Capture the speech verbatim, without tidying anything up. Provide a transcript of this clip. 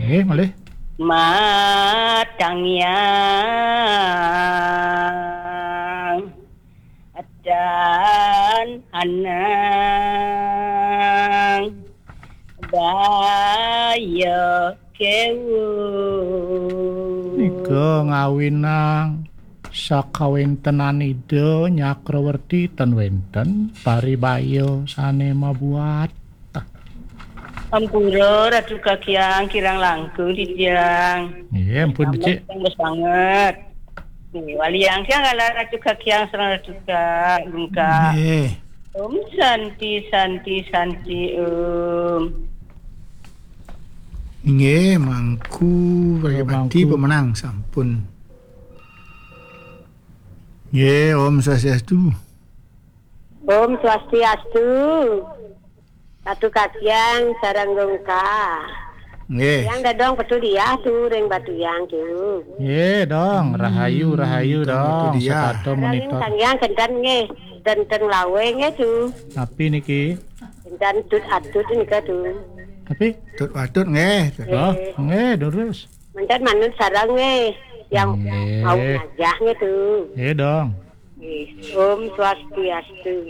Eh, malih. Matangyang dan anang baya kewu. Nika ngawinang sakawentenan Ida Nyakrawerti ten wenten paribaya sane mabuat. Ampura Ratu Kakyang kirang langkung titiang. Nggih, ampun becik. Sanget. Nggih, waliang tiang ala Ratu Kakyang sareng Ratu Ka Lungka. Nggih. Om Santi, Santi, Santi, Om. Nggih, mangku, Nggih, mangku. Pemenang sampun. Nggih, Om Swastiastu. Om Swastiastu. Ratu Kakyang sareng Lungka. Nggih. Yang dadong petudiah tu ring Batuyang tu. Nggih, dong. Hmm, Rahayu, rahayu, dong, dong. Petudiah. Setata monitor. Sang Hyang kenten nggih, kenten lawe nggih tu. Napi niki? Kenten tut atut nika tu. Tapi? Tut atut nggih. Oh, nggih, terus. Menten manut sareng nggih. Yang nggih. Mau ngajah nggih tu. Nggih, dong. Nggih. Om Swastiastu.